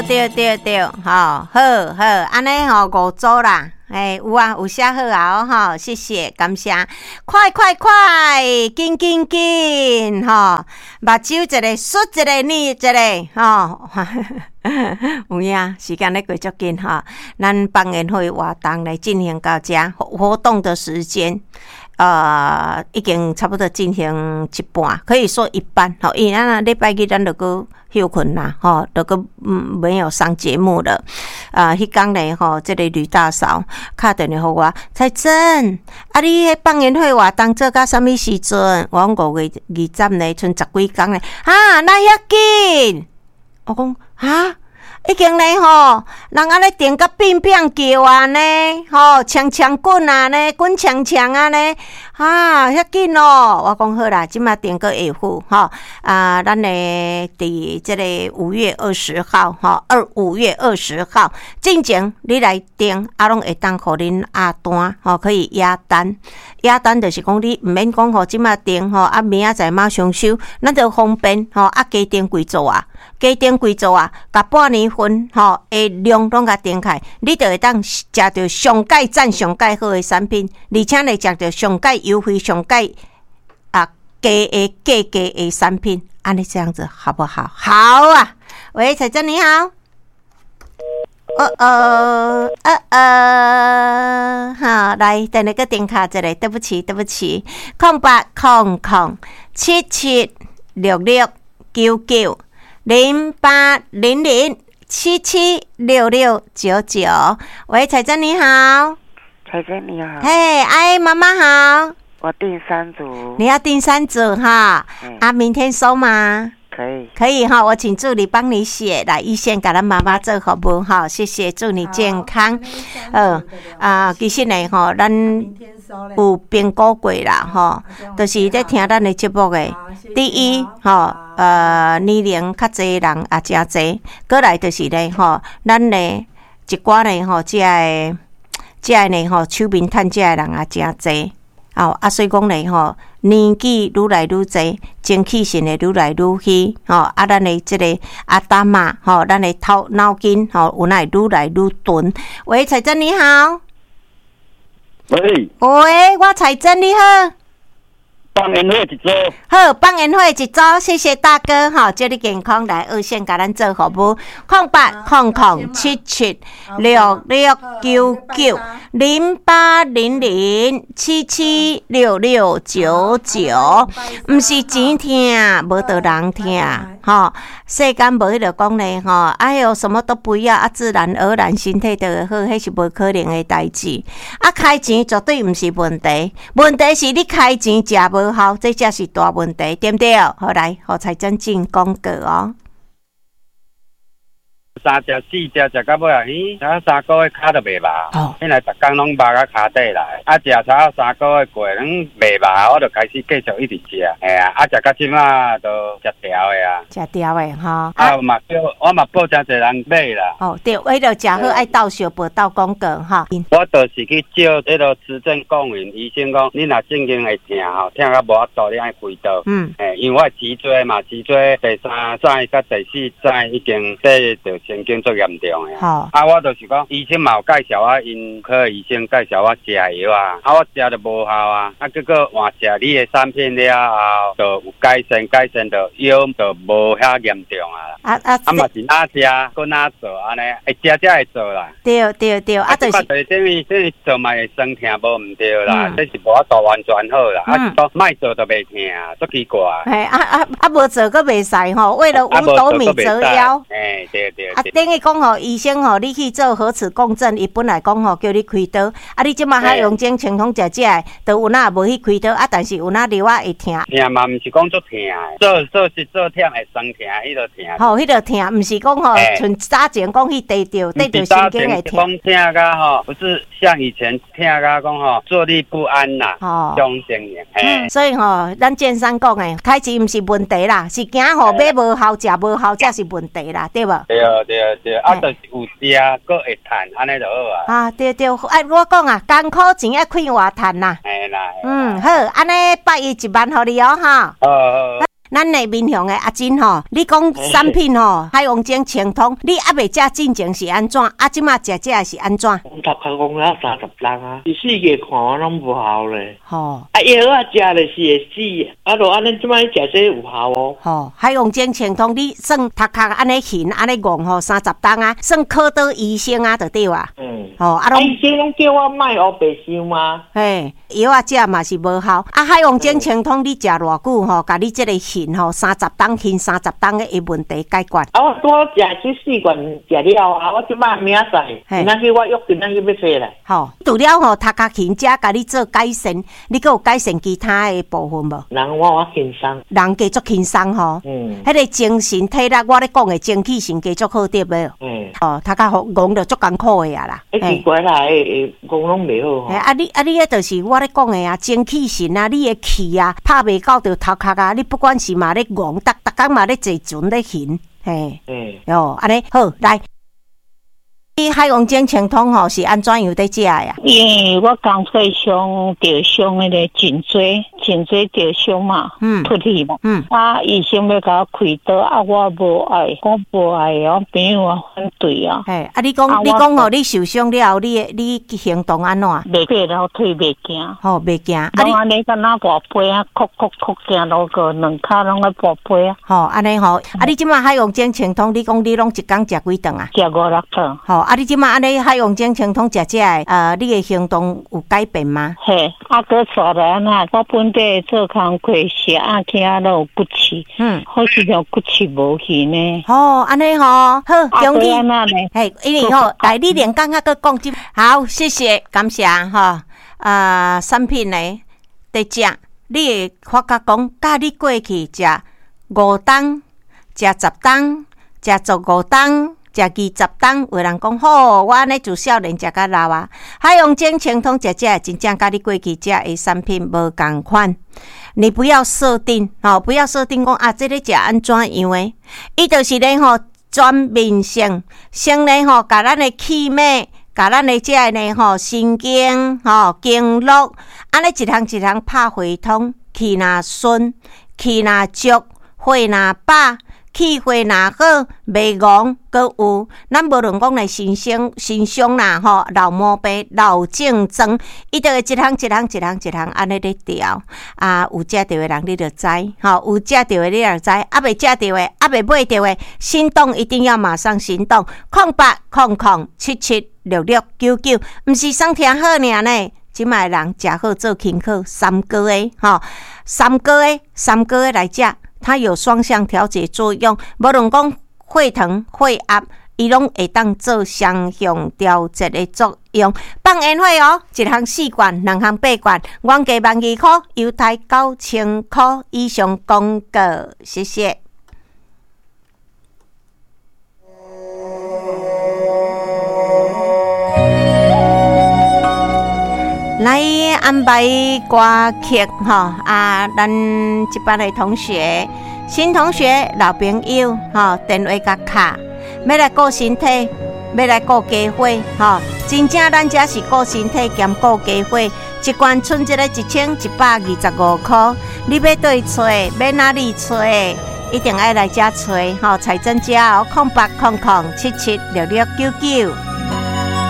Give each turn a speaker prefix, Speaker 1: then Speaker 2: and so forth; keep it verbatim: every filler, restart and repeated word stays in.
Speaker 1: 對對對對，吼，好好，按呢吼五組啦，欸，有啊，有寫好啊，吼，謝謝，感謝，快快快，緊緊緊，吼，目睭一个，爍一个，捏一个，吼，有影，時間咧過足緊吼，咱放煙火活動來進行到遮，活動的時間。呃，已經差不多進行一半，可以說一半。吼，因為咱禮拜日咱就閣歇睏啦，吼，就閣嗯沒有上節目了。啊，彼工咧吼，這個呂大嫂敲電話予我，彩珍，啊，你彼放煙火活動做到啥物時陣？我講五月二十呢，賰十幾工咧，哈，哪遐緊？我講哈。已經咧吼，人按呢訂甲變變叫啊呢，吼，衝衝滾啊呢，滾衝衝啊呢，啊，遐緊哦！我講好啦，這馬訂閣會付吼，啊，咱的佇這个五月二十號，吼，二五月二十號進前你來訂，啊，攏會當予恁壓單，吼，可以壓單，壓單就是講你毋免講吼，這馬訂吼，啊，明仔載馬上收，咱就方便吼，啊，加訂幾組啊，加訂幾組啊，共半年份吼的量攏共訂起來，你就會當食著上蓋讚、上蓋好的產品，而且呢，食著上蓋優惠、上蓋啊低的價格的產品，按呢這樣子好不好？好啊！喂，彩珍你好。哦哦哦哦，好，來，等下閣電卡一下，對不起，對不起，空八空空七七六六九九零八零零七七六六九九。喂，彩珍你好。
Speaker 2: 彩珍你好。
Speaker 1: 嘿，哎，媽媽好。
Speaker 2: 我訂三組。
Speaker 1: 你要訂三組哈？啊，明天收嗎？
Speaker 2: 可以。
Speaker 1: 可以哈，我請助理幫你寫來，一線共咱媽媽做服務哈，謝謝，祝你健康。嗯啊，其實呢吼，咱有評估過啦吼，就是咧聽咱的節目的。第一吼，呃，年齡較濟人也誠濟，閣來就是咧吼，咱咧一寡咧吼，這个這个呢吼，手面趁這个人也誠濟。哦，啊，所以講咧吼，年紀愈來愈濟，精氣神會愈來愈虛，吼，啊，咱的這个阿達瑪，吼，咱的頭腦筋，吼，有哪會愈來愈鈍。喂，彩珍你好。
Speaker 3: 喂。
Speaker 1: 喂，我彩珍你好。
Speaker 3: 放煙火一組。
Speaker 1: 好，放煙火一組，謝謝大哥，吼，祝你健康來二線共咱做服務，空八空空七七六六九九零八零零七七六六九九，毋是錢疼，無著人疼，吼，世間無彼个講咧，吼，哎喲，什麼都不要，啊，自然而然身體就會好，彼是無可能的代誌。啊，開錢絕對毋是問題，問題是你開錢食無效，這才是大問題，對毋對？好來，予彩珍進廣告哦。
Speaker 3: 三隻四隻食到尾啊，咦，啊三個月跤就袂麻，本來逐工攏麻到跤底來，啊食差三個月過，攏袂麻，我就開始繼續一直食，嘿啊，啊食到這馬都食調的啊，
Speaker 1: 食調的吼，
Speaker 3: 啊嘛叫我嘛報誠濟人買啦。
Speaker 1: 哦對，為了食好愛鬥相報鬥廣告吼。
Speaker 3: 我就是去照彼个磁振共鳴，醫生講你若正經會疼吼，疼到無法度，你愛開刀。
Speaker 1: 嗯。
Speaker 3: 嘿，因為我脊椎嘛，脊椎第三節佮第四節已經這著神經足嚴重的。
Speaker 1: 好。
Speaker 3: 啊，我就是講，醫生嘛有介紹我，𪜶科醫生介紹我食藥啊，啊，我食就無效啊，啊，結果換食你的產品了後，就有改善，改善就腰就無遐嚴重啊。
Speaker 1: 啊啊。
Speaker 3: 啊嘛是哪食，閣哪做按呢？會食才會做啦。
Speaker 1: 對對對，啊，就是。
Speaker 3: 等於等於做嘛會酸疼無毋對啦，這是無法度完全好啦。啊，是講莫做就袂疼，足奇怪。
Speaker 1: 嘿，啊啊啊！無做閣袂使吼，為了五斗米折腰。
Speaker 3: 嘿，對對。
Speaker 1: 啊，等於講吼，醫生吼，你去做核磁共振，伊本來講吼叫你開刀，啊，你這馬較用精清統食這个，都有哪無去開刀，啊，但是有哪藥仔會疼。
Speaker 3: 疼嘛，毋是講足疼，做做是做忝會酸疼，彼个疼。
Speaker 1: 吼，彼个疼，毋是講吼，像早前講去地著，地著神經會疼。
Speaker 3: 講疼甲吼，不是像以前疼甲講吼，坐立不安啦，
Speaker 1: 吼，
Speaker 3: 種情形。
Speaker 1: 嗯，所以吼，咱建商講的，開錢毋是問題啦，是驚吼買無效、食無效才是問題啦，對無？
Speaker 3: 對對對，啊，就是有食，閣會趁，按呢就好啊。
Speaker 1: 啊，對對，啊，我講啊，艱苦錢愛快活趁啦。
Speaker 3: 嘿啦。
Speaker 1: 嗯，好，按呢百一一萬予你哦，吼。
Speaker 3: 好好。
Speaker 1: 咱的民雄的阿珍吼，你講產品吼，海王精清通，你猶未食進前是按怎？啊，這馬食這是按怎？
Speaker 4: 我頭殼戇了三十冬啊，伊四界看我攏無效咧。
Speaker 1: 吼，
Speaker 4: 啊藥啊食咧是會死，啊著按呢這擺食這有效哦。
Speaker 1: 吼，海王精清通，你算頭殼按呢痕按呢戇吼，三十冬啊，算靠倒醫生啊，就對啊。
Speaker 4: 嗯。
Speaker 1: 吼，啊攏
Speaker 4: 醫生攏叫我莫烏白想啊。
Speaker 1: 嘿，藥啊食嘛是無效。啊，海王精清通，你食偌久吼，共你這個痕吼，三十冬痕三十冬的問題解決。
Speaker 4: 啊，我拄好食這四罐食了啊，我這擺明仔載，今仔去我約今仔去欲揣來。
Speaker 1: 吼，除了吼頭殼痕遮共你做改善，你閣有改善其他的部分無？
Speaker 4: 人我我輕鬆，
Speaker 1: 人加足輕鬆吼。
Speaker 4: 嗯。
Speaker 1: 彼個精神體力，我咧講的精氣神加足好對無？
Speaker 4: 嗯。
Speaker 1: 哦，頭殼予戇著足艱苦的啊啦。
Speaker 4: 欸，奇怪啦，會會戇攏袂好吼。
Speaker 1: 啊你啊你彼就是我咧講的啊，精氣神啊，你的氣啊，拍袂到著頭殼啊，你不管是嘛咧戇，逐逐工嘛咧坐船咧行，嘿。
Speaker 4: 嗯。
Speaker 1: 哦，按呢好來。你海王精清通吼是按怎樣佇食的啊？
Speaker 5: 因為我工課傷著傷彼个頸椎，頸椎著傷嘛，
Speaker 1: 嗯，
Speaker 5: 脫去嘛，
Speaker 1: 嗯，
Speaker 5: 啊，醫生欲共我開刀，啊，我無愛，我無愛，我朋友啊反對啊。
Speaker 1: 嘿，啊，你講你講吼，你受傷了後，你你行動按怎？
Speaker 5: 袂過老腿袂行。
Speaker 1: 吼，袂行。
Speaker 5: 啊，你按呢敢若跋杯啊，哭哭哭行路個兩跤攏愛跋杯啊。
Speaker 1: 吼，按呢吼，啊，你這馬海王精清通，你講你攏一工食幾頓啊？
Speaker 5: 食五六頓。
Speaker 1: 吼，啊！你這馬按呢海王精清通食這个，呃，你的行動有改變嗎？
Speaker 5: 嘿，啊，閣煞來按怎？我本底做工課時啊，起啊攏有骨刺，
Speaker 1: 嗯，
Speaker 5: 好似像骨刺無去呢。
Speaker 1: 吼，按呢吼，好，恭喜。
Speaker 5: 嘿，
Speaker 1: 因為吼，來你連講啊，閣講這，好，謝謝，感謝吼。啊，產品呢，佇食，你會發覺講，佮你過去食五冬、食十冬、食十五冬。食二十冬，有人講好，我按呢自少年食甲老啊。海王精清通食這真正佮你過去食的產品無仝款。你不要設定，吼，不要設定講啊，這个食按怎樣的？伊就是咧吼，全面性，先咧吼，共咱的氣脈，共咱的這个呢吼，神經吼經絡，按呢一項一項拍回通，氣若順，氣若足，火若飽。氣血若好，袂戇，閣有，咱無論講來身傷身傷啦吼，老毛病、老症狀，伊就會一項一項一項一項按呢咧調。啊，有食著的人你就知，吼，有食著的你就知，猶未食著的，猶未買著的，心動一定要馬上行動，空八空空七七六六九九，毋是耍聽好爾呢。這擺的人食好做輕巧，三個月吼，三個月三個月來食。它有雙向調節作用，無論講血糖、血壓，伊攏會當做雙向調節的作用。放煙火哦，一項四罐，兩項八罐，原價萬二箍，優待九千箍以上廣告，謝謝。來安排歌曲吼啊！咱這班的同學、新同學、老朋友吼，電話共敲，欲來顧身體，欲來顧家伙吼。真正咱這是顧身體兼顧家伙，一罐賰這個一千一百二十五箍，你欲佗揣，欲哪裡揣，一定愛來遮揣吼。彩珍遮哦，空八空空七七六六九九。